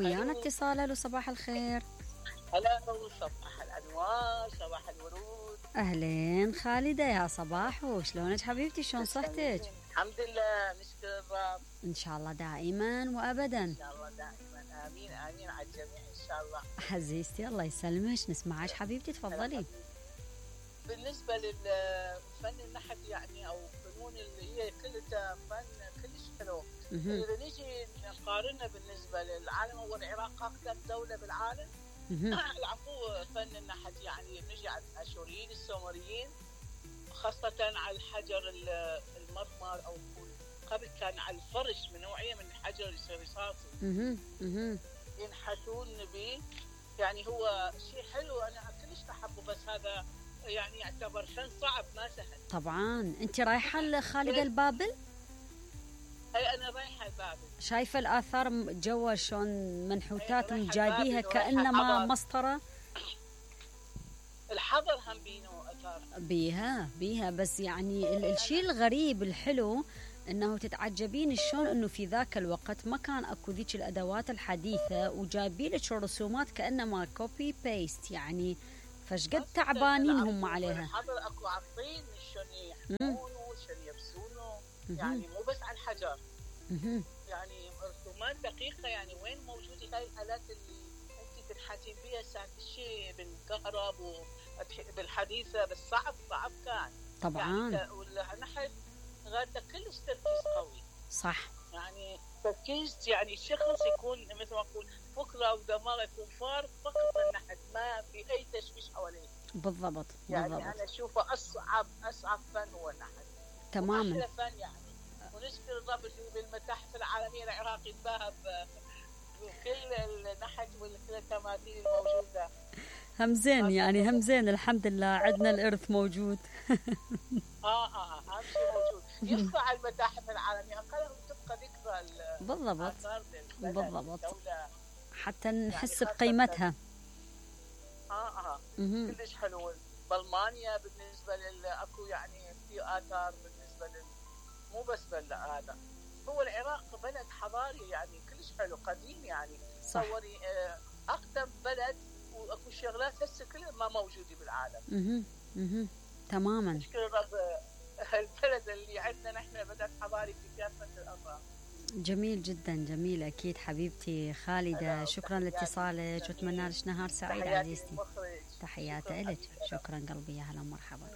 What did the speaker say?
ويانا اتصال. الو صباح الخير. هلا صباح الانوار، صباح الورود. اهلين خالدة، يا صباح، وشلونك حبيبتي؟ شلون صحتك؟ الحمد لله، نشكر الرب. ان شاء الله دائما وابدا. ان شاء الله دائما، امين امين على الجميع ان شاء الله. عزيزتي الله يسلمك، نسمعك حبيبتي، تفضلي. بالنسبه للفن النحت يعني او فنون اللي هي كلها فن كلش حلو. اذا نيجي نقارنها بالنسبه للعالم، هو العراق اقدم دوله بالعالم. العفو، فن النحت يعني نجي على الاشوريين السومريين، خاصه على الحجر المرمر، او قبل كان على الفرش من نوعيه من الحجر الرصاصي ينحتون به. يعني هو شيء حلو، انا كلش احبه، بس هذا يعني يعتبر فن صعب ما سهل. طبعا. انت رايحه لخالد البابل؟ اي انا رايحه البابل. شايفه الاثار جوا شلون منحوتات جايبيها كانما مسطره. الحضر هم بينو اثار بيها بس يعني الشيء الغريب الحلو انه تتعجبين شلون انه في ذاك الوقت ما كان اكو ذيك الادوات الحديثه، وجايبين لك الرسومات كانما كوبي بيست، يعني فشقد تعبانين هم عليها. الحضر اكو عطين شلون يحمونه شلون يرسونه، يعني مو بس على الحجر. يعني رسومات دقيقه. يعني وين موجوده هاي الالات اللي انت تنحتين بها ساعه الشيء بالكهرب وبالحديثه؟ بس صعب كان طبعا. يعني والنحت غاده كلش تركيز قوي. صح. يعني تركيز، يعني الشخص يكون مثل ما اقول فكره ودماغه يكون فارغ فقط النحت، ما في اي تشويش حواليه. بالضبط. يعني انا اشوفه اصعب فن هو النحت تماما. احلى فن يعني. ونشكر الرب اللي بالمتاحف العالميه العراق يتباهى بكل النحت وكل التماثيل الموجوده. همزين يعني همزين، الحمد لله عندنا الارث موجود. اهم شيء موجود. يبقى على المتاحف العالميه، اقلهم تبقى ذكرى. بالضبط حتى نحس يعني بقيمتها. كلش حلو. بالمانيا بالنسبه اكو يعني في اثار بالنسبه مو بس هذا. هو العراق بلد حضاري يعني كلش حلو قديم يعني. تصوري اقدم بلد، واكو شغلات هسه كلها ما موجوده بالعالم. تماما. نشكر الرب البلد اللي عندنا نحن بلد حضاري في كافه الاطراف. جميل جدا، جميل اكيد حبيبتي خالده. شكرا لاتصالك، واتمنى لك نهار سعيد عزيزتي. تحياتي لك. شكرا قلبي، يا هلا ومرحبا.